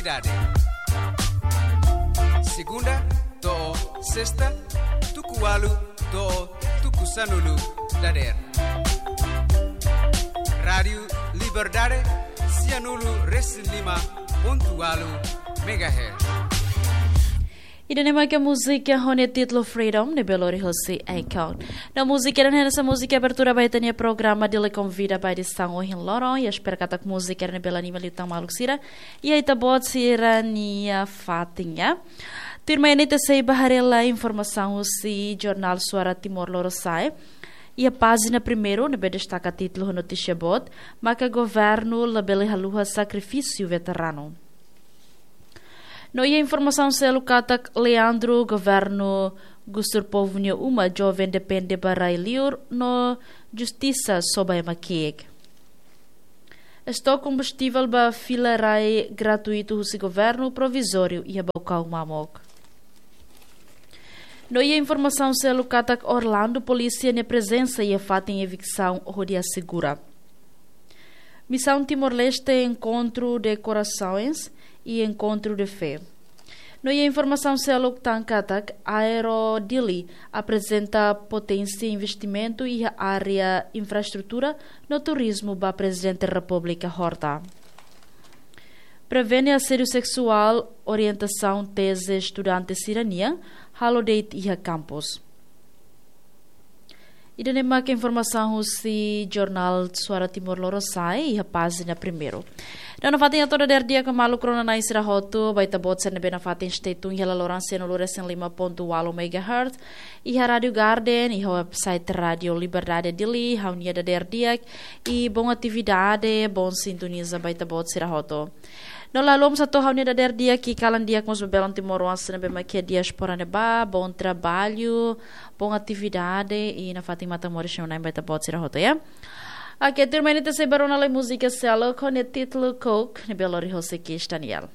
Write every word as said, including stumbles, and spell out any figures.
Dade. Segunda to'o sesta, tuku ualu to'o tuku sanulu dadeer. Rádiu Liberdade, sianulu resin lima pontu ualu megahertz. Ida-ne'e maka múzika ho nia títulu Freedom, ne'ebé lori hosi Akon. No múzika ida-ne'e hanesan múzika abertura ba ita-nia programa Dili Konvida ba edisaun ohin loron, i espera katak múzika ida-ne'e bele anima liután maluk sira, i ita-boot sira-nia fatin, ya. Tuirmai ne'e ita sei bá haree lai informasaun husi jornál Suara Timor Lorosa'e. Iha pájina primeiru, ne'ebé destaka títulu ho notísia boot, maka governu labele haluha sakrifísiu veteranu. No iha informasaun seluk katak Leandro, governu gustur povu nia uma, joven depende ba rai liur, no justisa soba ema ki'ik. Estok kombustivel ba fila rai gratuitu husi governu provizóriu iha Baucau, Mamuk. No iha informasaun seluk katak Orlando, polísia nia prezensa iha fatin eviksaun hodi asegura. Missão Timor-Leste, encontro de corações e encontro de fé. No iha informasaun seluk tan katak Aero Dili aprezenta poténsia investimentu iha área infraestrutura no turizmu ba Prezidente Repúblika Horta. Prevene asédiu seksuál, orientasaun teze estudante sira-nian, halo de'it iha kampus. Ida-ne'e maka informasaun husi jornál Suara Timor Lorosa'e iha pájina primeiru. No nafatin hato'o dadeer di'ak maluk rona-na'in sira hotu, ba ita-boot sira ne'ebé nafatin stay tune iha laloran sianulu resin lima pontu ualu megahertz, iha Rádiu Garden, iha website Rádiu Liberdade Dili, ha'u-nia dadeer di'ak, i bom atividade, bom sintoniza ba ita-boot sira hotu. No la haluha mós hato'o ha'u-nia dadeer di'ak, i kalan di'ak mós ba belun timoroan sira ne'ebé mak iha diáspora ne'ebá, bom trabalho, bom atividade, i nafatin matan moris nia na'in ba ita-boot sira hotu, ya. Oke, tuirmai ne'e ita sei bá rona lai múzika seluk ho nia títulu Coke, ne'ebé lori hosi Kis Daniel.